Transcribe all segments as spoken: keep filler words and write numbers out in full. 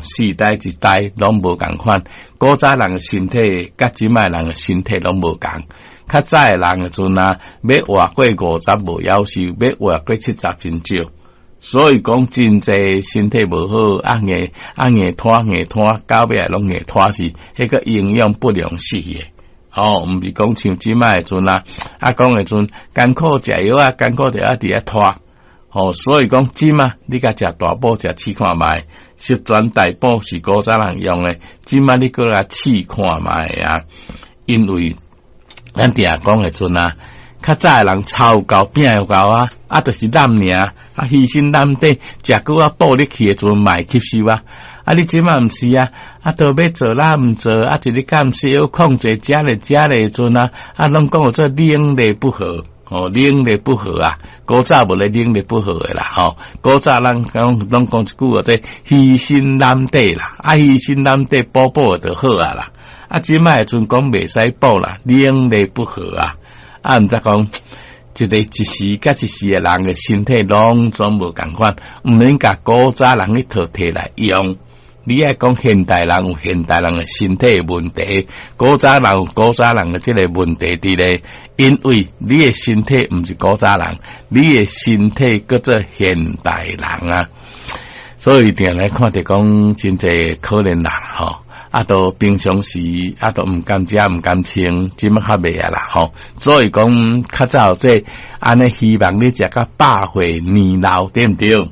四代一代攏無仝款。古早人的身體佮這擺人的身體攏無仝。較早的人的陣啊，欲活過五十無夭壽，欲活過七十真少。所以講真濟身體無好，啊硬啊硬拖硬拖，到尾攏硬拖死，彼個營養不良死的。哦，毋是講像這擺的陣啊，啊講的陣艱苦食藥啊，艱苦就愛佇遐拖。哦，所以講這擺你共食大補食試看覓，十全大補是古早人用的，這擺你閣來試看覓啊，因為咱定講的陣啊，較早的人操有夠，拼有夠啊，啊，就是攬爾，啊，犧牲攬底，食閣啊補入去的陣嘛會吸收啊。啊，你這擺毋是啊，啊，都欲做啦，毋做，啊，一日減少控制食咧食咧陣啊，啊，攏講做冷熱不和，哦，冷熱不和啊，古早無咧冷熱不和的啦，吼，古早人講攏講一句話，這犧牲攬底啦，啊，犧牲攬底補補就好啊啦，啊，這擺的陣講袂使補啦，冷熱不和啊，啊，毋知講。一個一時佮一時的人的身體攏總無仝款，毋免共古早人去套提來用。你愛講現代人有現代人的身體的問題，古早人有古早人的這個問題佇咧，因為你的身體毋是古早人，你的身體叫做現代人啊。所以定來看著講真濟可憐人吼。啊，都平常時啊，都毋甘食毋甘穿，這擺較袂啊啦吼。所以講較早這按呢，希望你食甲百歲年老，對毋對？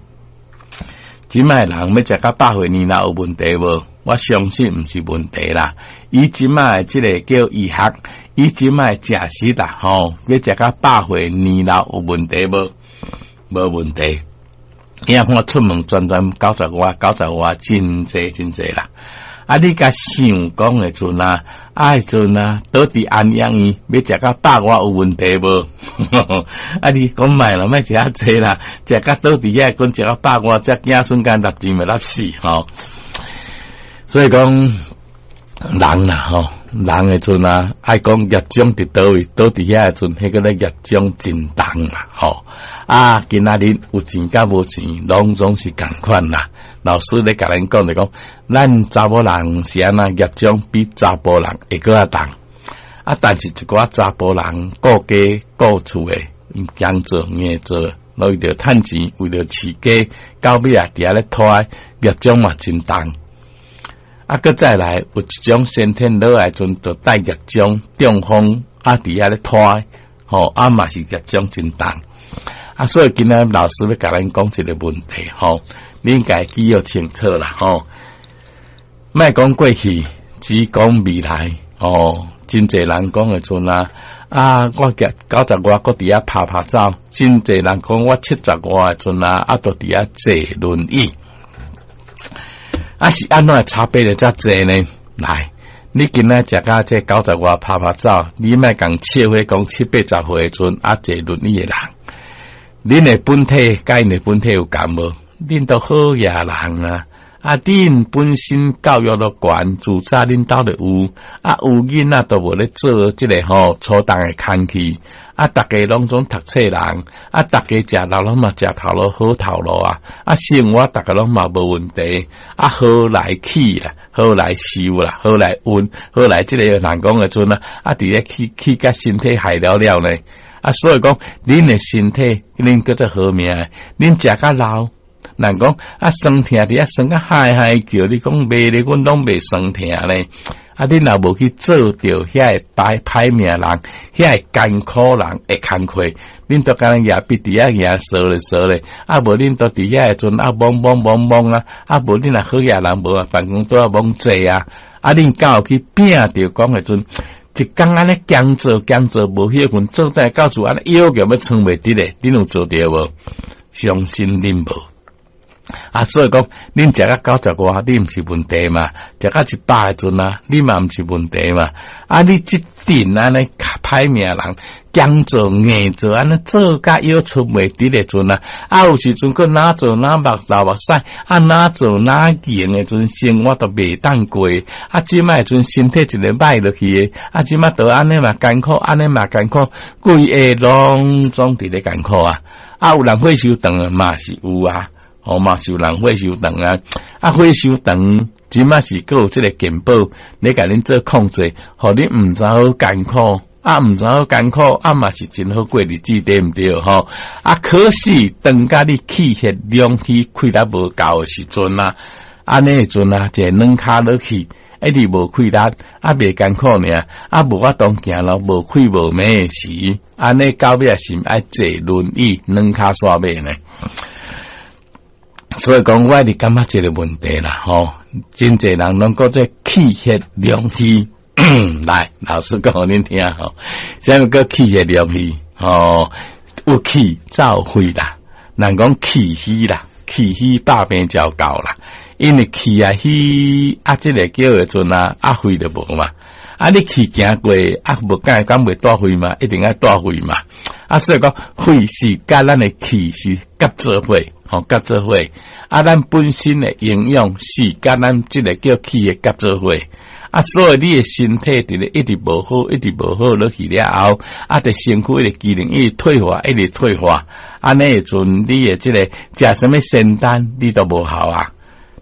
這擺人欲食甲百歲年老有問題無？我相信毋是問題啦。以這擺這個叫醫學，以這擺食食啦吼，欲食甲百歲年老有問題無？無問題。你看出門轉轉九十外、九十外，真濟真濟啦。啊！你共想講的陣啊，啊陣啊，倒佇安養院欲食甲百外有問題無？啊！你講莫啦，莫食遐濟啦，食甲倒佇遐，講食甲百外，這子孫間立定會立死吼。所以講人啦吼，人的陣啊，愛講業障佇佗位，倒佇遐的陣，彼個咧業障真重啦吼。啊，今仔日有錢佮無錢，攏總是仝款啦。老師咧共咱講就講，咱查某人是按怎業障比查埔人會閣較重。啊，但是一寡查埔人顧家顧厝的，強做硬做，為著趁錢，為著飼家，到尾啊佇遐咧拖，業障嘛真重。啊，閣再來有一種先天落來陣就帶業障，中風啊佇遐咧拖，吼啊嘛是業障真重。啊，所以今仔老師欲共咱講一個問題，吼，你應該記憶清楚啦，吼。莫講過去，只講未來，哦，真濟人講的陣啊，啊，我九十外閣佇遐拍拍走，真濟人講我七十外的陣啊，啊，都佇遐坐輪椅。啊，是按怎差別會遮濟呢？來，你今仔食甲這九十外拍拍走，你莫共笑話講七八十歲的陣啊坐輪椅的人。恁的本體佮𪜶的本體有仝無？恁都好野人啊！啊，恁本身教育都懸，自早恁兜就有，啊，有囡仔都無咧做這個吼粗重的工課，啊，逐家攏總讀冊人，啊，逐家食老攏嘛食頭路好頭路啊，啊，生活逐家攏嘛無問題，啊，好來氣啦，好來受啦，好來運，好來這個人講的陣啊，啊，佇咧去去共身體害了了呢。啊，所以講，恁的身體，恁叫做好命，恁食較老，人講啊，酸疼佇遐酸甲嗨嗨叫，你講袂咧，阮攏袂酸疼咧。啊，恁若無去做著遐个歹歹命人，遐个艱苦人的工課，恁都敢若舉筆佇遐舉踅咧踅咧，啊無恁都佇遐的陣啊摸摸摸摸啊，啊無恁若好野人無啊，辦公桌啊摸坐啊，啊恁敢有去拼著講的陣？一工按呢工做工做無歇睏，做在到厝按呢腰腳欲撐袂直咧，恁有做著無？相信恁無。啊，所以講，恁食甲九十外，你毋是問題嘛？食甲一百的陣啊，你嘛毋是問題嘛？啊，你這陣按呢歹命人，強做硬做，按呢做甲腰出袂直的陣啊，啊有時陣閣哪做哪目流目屎，啊哪做哪硬的陣，生活都袂當過。啊，這擺陣身體一个歹落去的，啊，這擺都按呢嘛艱苦，按呢嘛艱苦，規个攏總佇咧艱苦啊！啊，有人歲數長嘛是有啊。吼嘛是有人血傷長啊，啊血傷長，這馬是閣有這个健保，咧共恁做控制，予你毋知好艱苦，啊毋知好艱苦，啊嘛是真好過日子，對毋對？吼，啊可是當佮你氣血兩虛氣力無夠的時陣啊，按呢的陣啊，一个軟跤落去，一直無氣力，啊袂艱苦爾，啊無法度行路，無氣無脈的時，按呢到尾是愛坐輪椅軟跤煞尾呢？所以講，我一直感覺這个問題啦，吼，真濟人攏講這氣血兩虛，來，老師講予恁聽吼，啥物叫氣血兩虛？吼，有氣才有血啦，人講氣虛啦，氣虛百病就到啦，因為氣啊虛啊，這个叫的陣啊，啊血就無嘛，啊你氣行過啊無敢敢袂帶血嘛，一定愛帶血嘛，啊所以講血是佮咱的氣是合做伙。吼，合做伙，啊，咱本身的營養是佮咱這个叫氣的合做伙，啊，所以你的身體佇咧一直無好，一直無好落去了後，啊，佇身軀的機能一直退化，一直退化，按呢的陣你的這个食啥物仙丹，你都無效啊，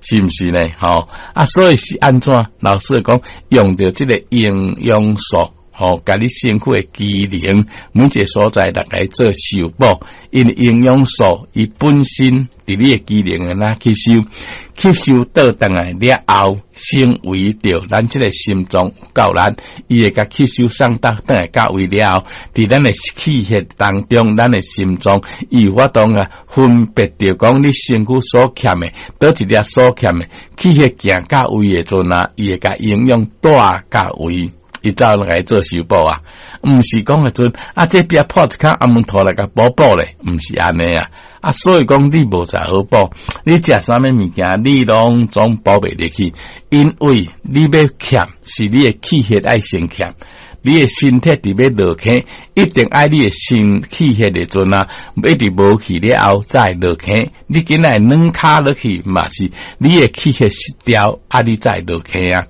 是毋是呢？吼，啊，所以是按怎？老師講用著這个營養素。吼，共你身軀的機能，每一个所在來共做修補，因為營養素伊本身佇你的機能會哪吸收，吸收倒轉來了後，成為著咱這个心臟夠力，伊會共吸收送到轉來到位了後，佇咱的氣血當中，咱的心臟伊有法度啊分別著講你身軀所欠的，佗一粒所欠的，氣血行到位的陣啊，伊會共營養帶到位。伊才來做修補啊，毋是講的陣啊，這邊破一空安門塗來共補補咧，毋是按呢啊。啊，所以講你無食好補，你食啥物物件，你攏總補袂入去，因為你欲欠是你的氣血愛先欠，你的身體佇欲落坑，一定愛你的身氣血的陣啊，一直無去了後才會落坑。你今仔軟跤落去嘛是你的氣血失調，啊，你才會落坑啊。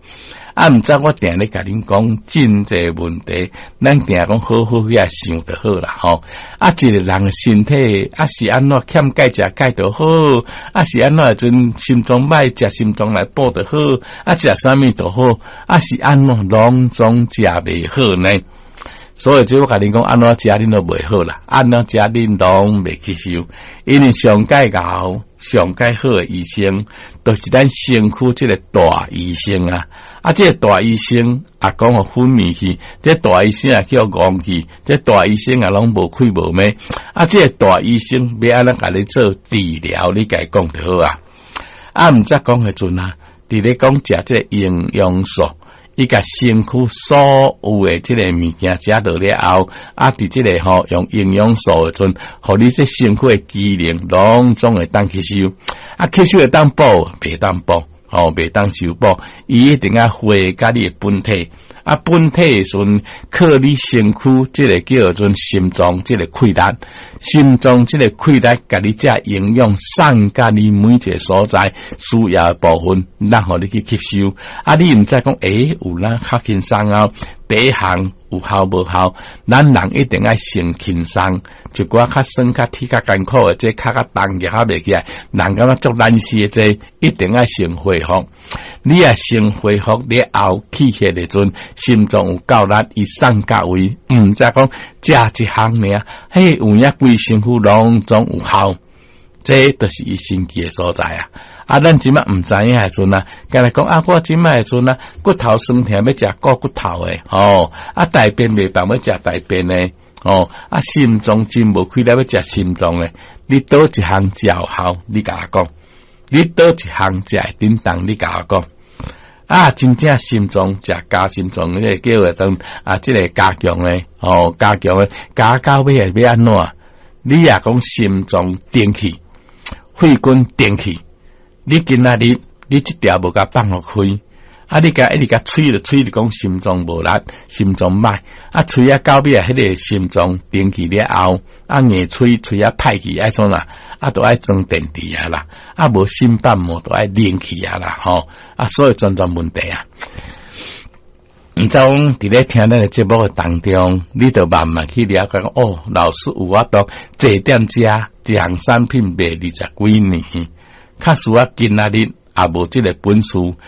啊，毋知我定咧共恁講真濟問題，咱定講好好遐想就好啦吼。啊，一个人身體啊是按怎欠鈣食鈣就好，啊是按怎陣心臟歹食心臟來補就好，啊食啥物就好，啊是按怎攏總食袂好呢？所以這我共恁講，按怎食恁都袂好啦，按怎食恁攏袂吸收，因為上蓋𠢕、上蓋好的醫生，就是咱身軀這个大醫生啊。啊，這个大醫生啊，講予昏迷去，這個大醫生啊叫戇去，這個大醫生啊攏無氣無脈。啊，這個大醫生欲按怎共你做治療，你共伊講就好啊。啊，毋則講彼陣啊，佇咧講食這個營養素，伊共身軀所有的這個物件食落了後，啊，佇這个吼用營養素的陣，予你這身軀的機能攏總會當吸收。啊，吸收會當補，袂當補。吼，袂當修補，伊一定愛匯佮你的本體，啊，本體的時陣靠你身軀，這个叫做心臟，這个氣力，心臟這个氣力，共你這營養送佮你每一个所在需要的部分，然後你去吸收。啊，你毋知講，欸，有哪較輕鬆啊？第一項有效無效？咱人一定愛先輕鬆，一寡較酸、較鐵、較艱苦的，這較較重較袂起來，人感覺足難死的，這一定愛先恢復。你若先恢復了後，氣血的陣，心臟有夠力，伊送到位，毋知講食一項爾，彼，有影規身軀攏總有效，這就是伊神奇的所在啊！啊，咱這馬毋知影的陣啊，干焦講啊，我這馬的陣啊，骨頭酸疼欲食顧骨頭的，吼，啊，大便袂放欲食大便的，吼，啊，心臟真無氣力欲食心臟的，你佗一項食有效，你共我講，你佗一項食會叮當，你共我講，啊，真正心臟食加心臟，這个叫做啊，這个加強的，吼，加強的，加到尾會欲按怎？你若講心臟定去，血管定去。你今仔日你這條無共放予開，啊！你共一直共催著催著講心臟無力，心臟歹，啊！催啊到尾啊，彼个心臟停去了後，啊硬催催啊歹去，愛創啥？啊，都愛裝電池啊啦，啊無心瓣膜都愛連去啊啦，吼！啊，所以種種問題啊。毋知講佇咧聽咱的節目的當中，你就慢慢去了解講，哦，老師有法度坐踮遮，一項產品賣二十幾年。較輸啊今仔日也無這个本事。